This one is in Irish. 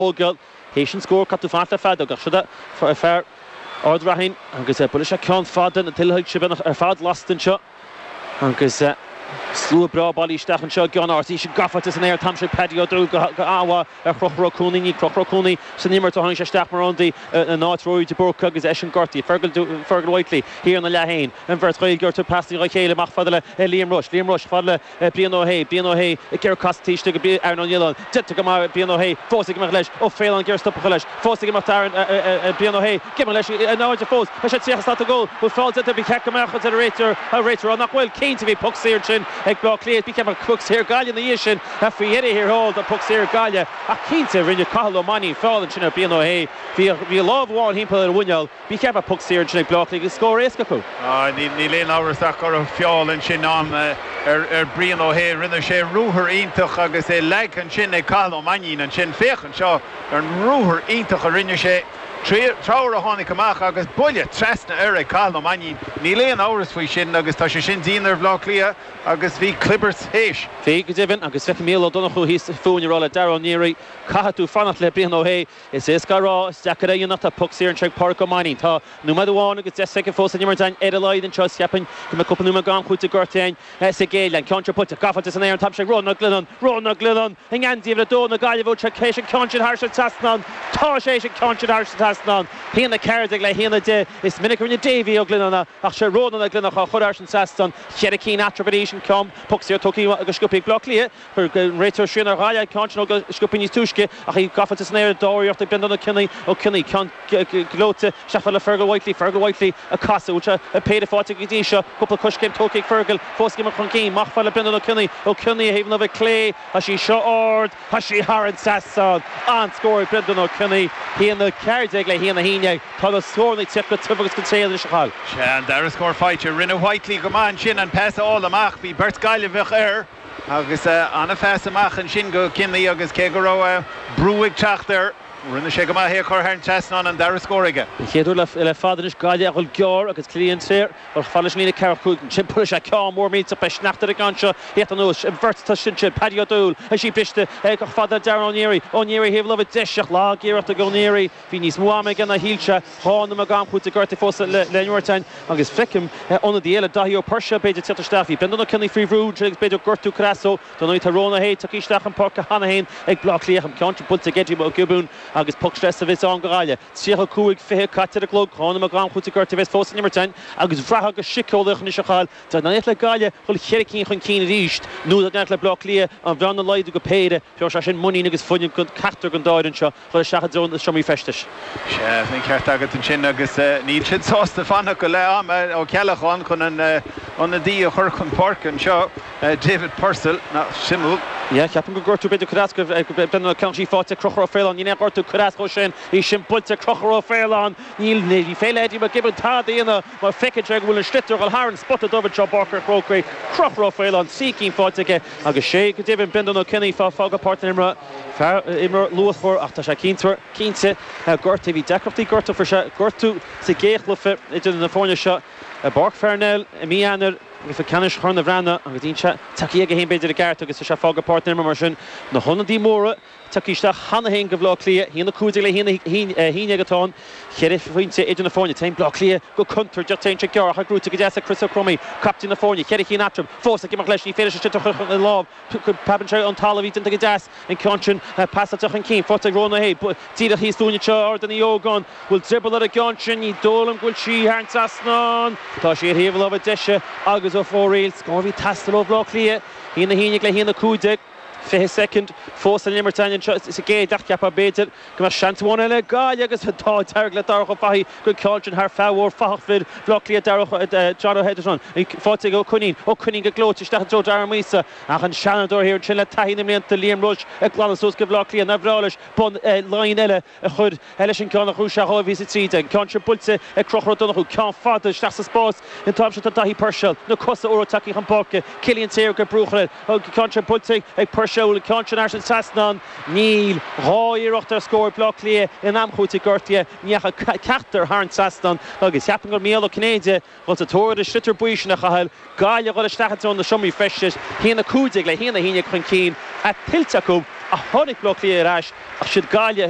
Thógáil théis an scór, caithfidh tú fanacht le feadóg, ach siod é fear Ard Raithin agus buailfidh sé ceann fada, na tuilsoilse beagnach ar fad lasta anseo agus slua breá bailithe isteach anseo i gCeann Áras. Í sin gafa san aer an t-am seo ag Paddy Ó Dúill go han-mhaith ar Chrochúr Ó Cuanaigh. Níl Crochúr Ó Cuanaigh san imirt ó tháinig sé isteach mar ionadaí in áit Ruairí de Búrca agus eisean gortaithe. Fergal Whitely thiar ina leath féin. An bheirt Ghaeilgeoir ag tabhairt pasanna dá chéile amach fada le Liam Rushe. Liam Rushe fada le Brian Ó hAodha, Brian Ó hAodha ag iarraidh casadh taobh istigh go Aaron Ó Nialláin. Déanta go maith ag Brian Ó hAodha, fós ag imeacht leis. Ó Faoláin ag iarraidh stop a chur leis. Fós ag imeacht Aaron, Brian Ó hAodha. Ag imeacht leis in airde fós. Tá sé 30 slat ón gcúl. Bhfuil feall déanta? Ba cheart go mbeadh, a deir an réiteoir. Tá an réiteoir á nach bhfuil. Cinnte bhí poc saor ansin ag Bleá Cliath. Ba cheart go mbeadh poc saor Gaillimh ina dhiaidh sin. Faoi dheireadh thiar thall tá poc saor Gaillimh. Ach cinnte rinne Cathal Ó Mainnín feall ansin ar Brian Ó hAodha. Bhí a lámh amháin thimpeall ar a mhuineál. Ba cheart bheith poc saor ansin ag Bleá Cliath agus scór éasca acu. Níl aon amhras ach go raibh feall ansin ann ar Brian Ó hAodha. Rinne sé ruathar iontach agus é leagtha ansin ag Cathal Ó Mainnín ansin. Féach anseo ar an ruathar iontach a rinne sé. Treabhar a tháinig amach agus buille trasna air ag Cathal Ó Mainnín. Níl aon amhras faoi sin agus tá sé sin dian ar Bhleá Cliath agus bhí clibirt théis. Bhí, go deimhin, agus feicim Mícheál Ó Donnchú thíos fúinn ag rá le Dara Ó Niaraigh, Caithfidh tú fanacht le Brian Ó hAodha. Is éasca a rá, is deacair a dhéanamh. Tá poc saor anseo ag Pádraic Ó Mainnín. Tá nóiméad amháin agus 10 soicind fós san imirt againn ar a laghad anseo is cheapfainn go mbeidh cúpla nóiméad d'am cúitimh gortaithe againn sa gcéad leath. An ceann seo buailte, gafa san aer an t-am seo ag Rónán Ó Glionnáin. Rónán Ó Glionnáin i ngeansaí uimhir 2 na Gaillimhe bhfuil sé théis an ceann sin thairis an trasnán. Tá sé théis an ceann sin thairis an trasnán. 1-14 le 1-10. Is minic a rinne Davy Ó Glionnáin é ach sé Rónán Ó Glionnáin á chur thairis an trasnán. Cheithre cinn eatarthu arís an ceann poc saor tugtha go sciobtha ag Bleá Cliath. Chuir an réiteoir srian ar Ghaillimh an ceann sin go sciobtha níos túisce ach í gafa san aer dá iarracht ag Brendan Ó Cionnaith, Ó Cionnaith, ceann gleoite isteach fada le Fergal Whitely, Fergal Whitely ag casadh, bhfuil sé péire faighte go dtí seo, cúpla coiscéim tógtha ag Fergal, fós ag imeacht chun cinn, amach fada le Brendan Ó Cionnaith, Ó Cionnaith ar thaobh na láimhe clé, tá sí seo ard, tá sí thar an trasnán, an-scór ag Brendan Ó Cionnaith, 1-14 le 1-11, tá na scóranna ag tíocht go tiubh agus go tréan anois a Chathail. Sea, an dara scór faighte, rinne Whitely go maith ansin an pas a fháil amach, bhí beirt Gaillimheach air. Agus an-phas amach ansin go Cionnaith agus cé go raibh brú ag teacht air, rinne sé go maith é a chur thar an trasnán, an dara scór aige. Den chéad uair le fada anois Gaillimh a dhul gearr agus Cillian Saor ag dul fada leis an líne ceathracha 5 ansin buailfidh sé ceann mór millteach beidh sneachta ar an gceann seo thíocht anuas an bheirt atá ansin Paddy Ó Dúill is í briste ag fada le Darren Ó Neary Ó Neary thaobh láimhe deise ach lag-iarracht ag Ó Neary Bhí níos mó ama aige ná shíl sé. 2 nóiméad d'am cúitimh gortaithe fós le n-imirt againn agus feicim ionadaí eile, Daithí Ó Puirséil, b'fhéidir tíocht isteach. Bhí Brendan Ó Cionnaith faoi bhrú ansin agus b'fhéidir gortú cur as dó. Dar ndóigh tá Rónán Ó hAodha tagtha isteach chun páirce cheana féin ag Bleá Cliath. An ceann sin buailte ag Eddie Mac Giobúin agus poc sleasa a bheas ann do Ghaillimh. 35, 20 caite ar an gclog. 2 nóiméad d'am cúitimh gortaithe a bheas fós san imirt againn agus bhraithfeá go síceolaíoch anois a Chathail dá n-éireodh le Gaillimh dhul cheithre cinn chun cinn arís nó dá n-éireodh le Bleá Cliath an bhearna a laghdú go péire, thabharfadh sé sin muinín agus fuinneamh do cheachtar den dá fhoireann seo. Dhul isteach i dtreo na seomraí feistis. Sea, an ceart agat ansin agus níl siad sásta fanacht go leath ama Ó Ceallacháin chun an ionadaí a chur chun páirce anseo, David Purcell. Nach suimiúil. Yeah, ceapaim gur gortú b'fhéidir cur as go Brendan Ó Ceann sí faighte ag Conchúr Ó Faoláin. Níl aon ghortú cur as dhó sin. Í sin buailte ag Conchúr Ó Faoláin. Níl, ní féidir le Eddie McGibbon tada a dhéanamh mar feiceann sé go bhfuil an sliotar ag dul thar an spota dubh anseo i bPáirc an Chrócaigh. Conchúr Ó Faoláin, 3 cinn faighte aige agus sé go deimhin Brendan Ó Cionnaith fágtha páirc na himeartha. Fear, imreoir luachmhar ach tá sé cinnte, cinnte gortaithe. Bhí deacrachtaí gortú, fuair sé gortú sa gcéad chluiche idir na foirne seo i bPáirc Pharnell i mí Eanáir i gcluiche ceannais Chorn an Bhreathnaigh agus níl sé tagtha aige féin b'fhéidir i gceart agus tá sé fágtha páirc na himeartha mar sin. Na hionadaí móra tagtha isteach cheana féin do Bhaile Átha Cliath, 1-15 le 1-11 atá ann. Cheithre phointe idir na foirne. Téann Bleá Cliath go contúirteach. Téann sé gearr ach é gnóite go deas ag Chris Ó Cromaí, captaen na foirne. Cheithre chinn eatarthu. Fós ag imeacht leis. Ní féidir leis an sliotar a chur ina lámh. Preabann sé ón talamh, í déanta go deas, an ceann sin pasáilte chun cinn, faighte ag Rónán Ó hAodha, díreach thíos dúinn anseo, Ard an Ógáin, bhfuil drioball ar an gceann sin, ní dóigh liom go bhfuil sí thar an trasnán, tá sí ar thaobh na láimhe deise agus ó fóraoil, scór a bhí ag teastáil ó Bhaile Átha Cliath, 1-11 le 1-15, 20 soicind fós san imirt againn anseo sa gcéad leath, cheapfá b'fhéidir go mbeadh seans amháin eile ag Gaillimh agus an t-ádh dearg le Darach Ó Fathaigh go ceann sin thar fear mhór fathach fir Bhaile Átha Cliath Darach John Ó hEideasán faighte ag Ó Coinín Ó Coinín go gleoite isteach i dtreo Darren Míosa ach an seanadóir thiar ansin le taithí na mblianta Liam Rushe ag glanadh suas go Bhaile Átha Cliath nár bhreá leis bun Laighean eile a chur leis an gceann a ghnóthaigh sé 2013. An ceann sin buailte ag Conchúr Ó Donnchú ceann fada isteach sa spás an t-am seo tá Daithí Purcell na cosa úra tagtha chun páirce Cillian Taylor ag brú air an ceann sin buailte ag Purcell an ceann sin thar an trasnán Níl. 2 iarracht ar scór ag Bleá Cliath in am chúitimh gortaithe. Ní dheachaigh ceachtar thar an trasnán agus cheapfainn gur Mícheál Ó Cinnéide a dhul sa tóir ar an sliotar buí sin a Chathail. Gaillimh a dhul isteach i dtreo na seomraí feistis, 1-15 le 1-11 chun cinn, é tuillte acu Ach tháinig Baile Átha Cliath ar ais ach siad Gaillimh.